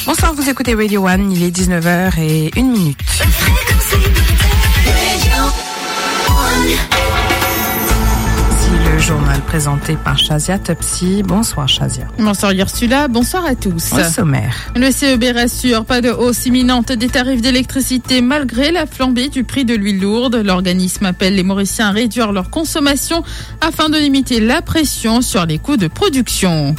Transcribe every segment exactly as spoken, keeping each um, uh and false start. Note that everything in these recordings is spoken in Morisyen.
Bonsoir, vous écoutez Radio One, il est dix-neuf heures et une minute. Voici le journal présenté par Shazia Topsy. Bonsoir Shazia. Bonsoir Ursula, bonsoir à tous. Au sommaire. Le C E B rassure, pas de hausse imminente des tarifs d'électricité malgré la flambée du prix de l'huile lourde. L'organisme appelle les Mauriciens à réduire leur consommation afin de limiter la pression sur les coûts de production.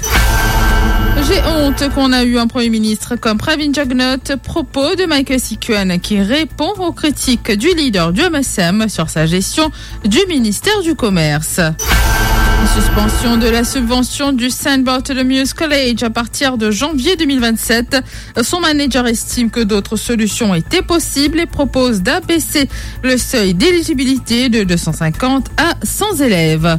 J'ai honte qu'on a eu un Premier ministre comme Pravin Jugnauth, propos de Michael Sikuen qui répond aux critiques du leader du M S M sur sa gestion du ministère du Commerce. Suspension de la subvention du Saint Bartholomew's College à partir de janvier deux mille vingt-sept. Son manager estime que d'autres solutions étaient possibles et propose d'abaisser le seuil d'éligibilité de deux cent cinquante à cent élèves.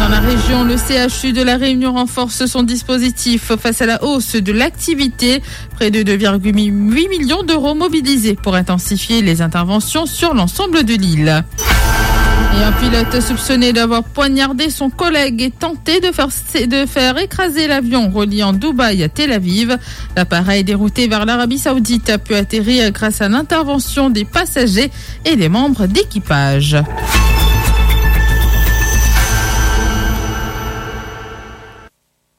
Dans la région, le C H U de La Réunion renforce son dispositif face à la hausse de l'activité. Près de deux virgule huit millions d'euros mobilisés pour intensifier les interventions sur l'ensemble de l'île. Et un pilote soupçonné d'avoir poignardé son collègue et tenté de faire, de faire écraser l'avion reliant Dubaï à Tel Aviv. L'appareil dérouté vers l'Arabie Saoudite a pu atterrir grâce à l'intervention des passagers et des membres d'équipage.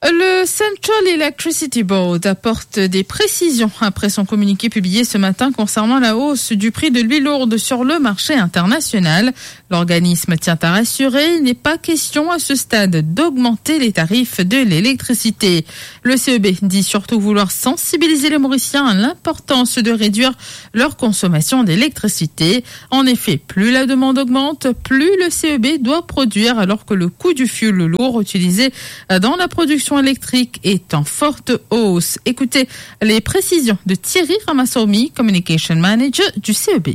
Le Central Electricity Board apporte des précisions après son communiqué publié ce matin concernant la hausse du prix de l'huile lourde sur le marché international. L'organisme tient à rassurer, il n'est pas question à ce stade d'augmenter les tarifs de l'électricité. Le C E B dit surtout vouloir sensibiliser les Mauriciens à l'importance de réduire leur consommation d'électricité. En effet, plus la demande augmente, plus le C E B doit produire, alors que le coût du fioul lourd utilisé dans la production électrique est en forte hausse. Écoutez les précisions de Thierry Ramasomi, Communication Manager du C E B.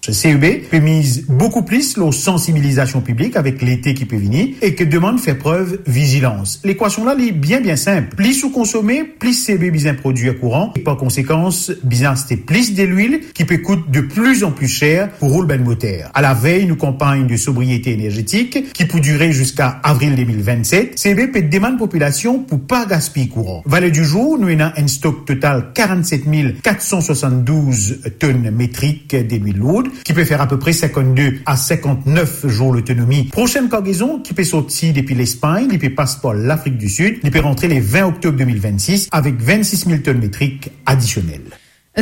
C E B pe miz boukou plis lor sansibilizasion piblik avek lete ki pe vini e ki demann fer prev vizilans. Lekwasion la, li bien, bien sinp. Plis ou konsome, plis C E B bizin prodwir kouran e par konsekans, bizin aste plis delwil ki pe kout de pli an pli ser pou roul bann moter. A la vey nou kanpagn de sobriete energetik ki pou dire ziska avril de mil vennset, C E B pe demann popilasion pou pa gaspiy kouran. Valer di zour, nou ena enn stok total karannset mil kat san swasanndouz tonn metrik delwil lourd, ki pe fer apepre sinkannde a sinkannef zour lotonomi. Prosenn kargezon ki pe sorti depi Lespagn, li pe pas par Lafrik di Sid, li pe rantre le vin oktob de mil vennsis avek vennsis mil tonn metrik adisionel.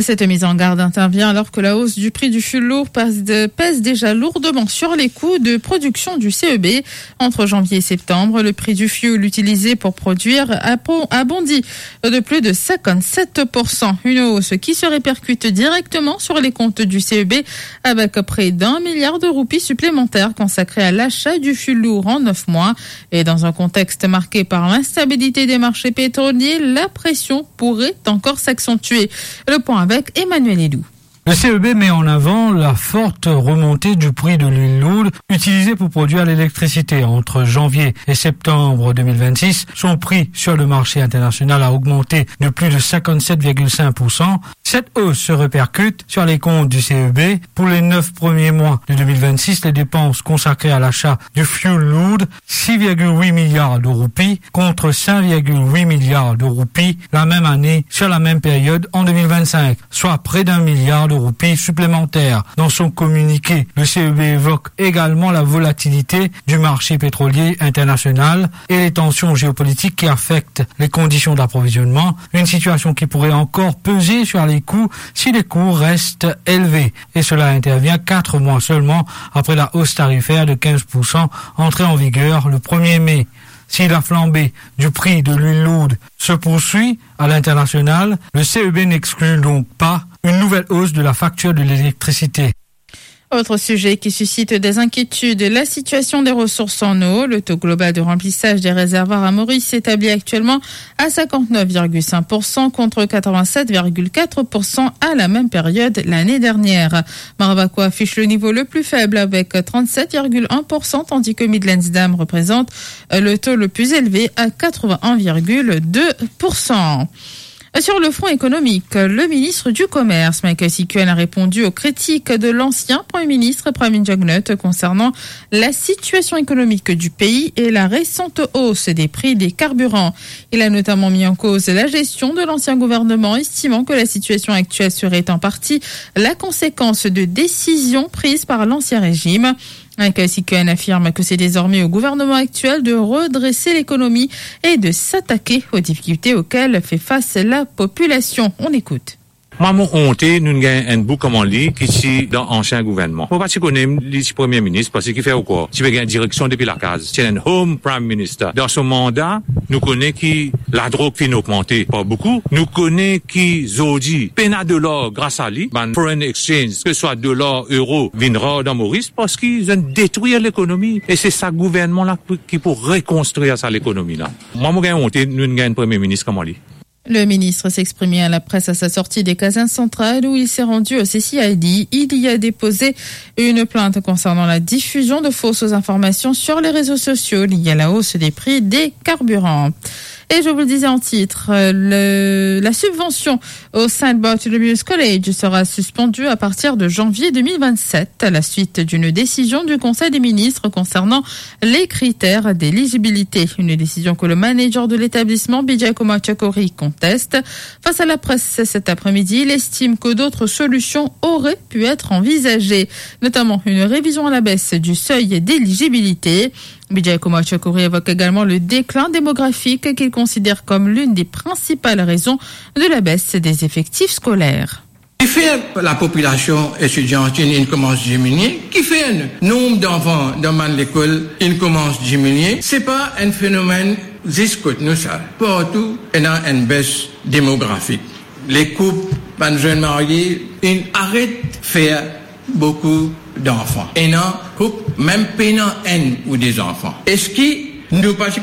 Cette mise en garde intervient alors que la hausse du prix du fioul lourd pèse de-, pèse déjà lourdement sur les coûts de production du C E B. Entre janvier et septembre, le prix du fioul utilisé pour produire a po-, a bondi de plus de cinquante-sept pour cent. Une hausse qui se répercute directement sur les comptes du C E B, avec près d'un milliard de roupies supplémentaires consacrées à l'achat du fioul lourd en neuf mois. Et dans un contexte marqué par l'instabilité des marchés pétroliers, la pression pourrait encore s'accentuer. Le point avec Emmanuel Edoux. Le C E B met en avant la forte remontée du prix de l'huile lourde utilisée pour produire l'électricité. Entre janvier et septembre deux mille vingt-six, son prix sur le marché international a augmenté de plus de cinquante-sept virgule cinq pour cent. Cette hausse se répercute sur les comptes du C E B. Pour les neuf premiers mois de deux mille vingt-six, les dépenses consacrées à l'achat du fioul lourd, six virgule huit milliards de roupies contre cinq virgule huit milliards de roupies la même année sur la même période en deux mille vingt-cinq, soit près d'un milliard de roupies supplémentaires. Dans son communiqué, le C E B évoque également la volatilité du marché pétrolier international et les tensions géopolitiques qui affectent les conditions d'approvisionnement, une situation qui pourrait encore peser sur les coûts si les coûts restent élevés. Et cela intervient quatre mois seulement après la hausse tarifaire de quinze pour cent entrée en vigueur le premier mai. Si la flambée du prix de l'huile lourde se poursuit à l'international, le C E B n'exclut donc pas une nouvelle hausse de la facture de l'électricité. Autre sujet qui suscite des inquiétudes, la situation des ressources en eau. Le taux global de remplissage des réservoirs à Maurice s'établit actuellement à cinquante-neuf virgule cinq pour cent contre quatre-vingt-sept virgule quatre pour cent à la même période l'année dernière. Marvaco affiche le niveau le plus faible avec trente-sept virgule un pour cent, tandis que Midlands Dam représente le taux le plus élevé à quatre-vingt-un virgule deux pour cent. Sur le front économique, le ministre du Commerce, Michael Sikuen, a répondu aux critiques de l'ancien Premier ministre Pravind Jugnauth concernant la situation économique du pays et la récente hausse des prix des carburants. Il a notamment mis en cause la gestion de l'ancien gouvernement, estimant que la situation actuelle serait en partie la conséquence de décisions prises par l'ancien régime. Michael Sikuen affirme que c'est désormais au gouvernement actuel de redresser l'économie et de s'attaquer aux difficultés auxquelles fait face la population. On écoute. Mwa, mo onte nou gagn enn boug kouma li ki ti dan ansien gouvernman. Mo pa ti kone li ti premie minis, parski ki fer ou krwar, ti pe gagn direksion depi lakaz. Ti enn home prime minister. Dan so manda, nou kone ki ladrog finn ogmante pa boukou. Nou kone ki zordi pena dolar gras a li, bann foreign exchange, ke swa dolar, euro, vinn rar dan Moris, parski zot inn detrir lekonomi. E se sa gouvernman la pou, ki pou rekonstrir sa lekonomi la. Mwa, mo gagn onte nou gagn enn premie minis kouma li. Le ministre s'exprimait à la presse à sa sortie des casernes centrales où il s'est rendu au C C I D. Il y a déposé une plainte concernant la diffusion de fausses informations sur les réseaux sociaux liées à la hausse des prix des carburants. Et je vous le disais en titre, euh, le, la subvention au Saint Bartholomew's College sera suspendue à partir de janvier deux mille vingt-sept, à la suite d'une décision du Conseil des ministres concernant les critères d'éligibilité. Une décision que le manager de l'établissement, Bijay Kumar Chakori, conteste. Face à la presse cet après-midi, il estime que d'autres solutions auraient pu être envisagées, notamment une révision à la baisse du seuil d'éligibilité. Bijay Kumar Chakori évoque également le déclin démographique qu'il considère comme l'une des principales raisons de la baisse des effectifs scolaires. Ki fer lapopilasion etidiantin inn koumans diminie, ki fer nomb danfan dan bann lekol inn koumans diminie, se pa enn fenomenn zis kot nou sa. Partou ena enn bes demografik. Lekoup, bann zenn marie, inn aret fer boukou danfan. Ena koup mem pena enn ou de zanfan. Eski nou pa ti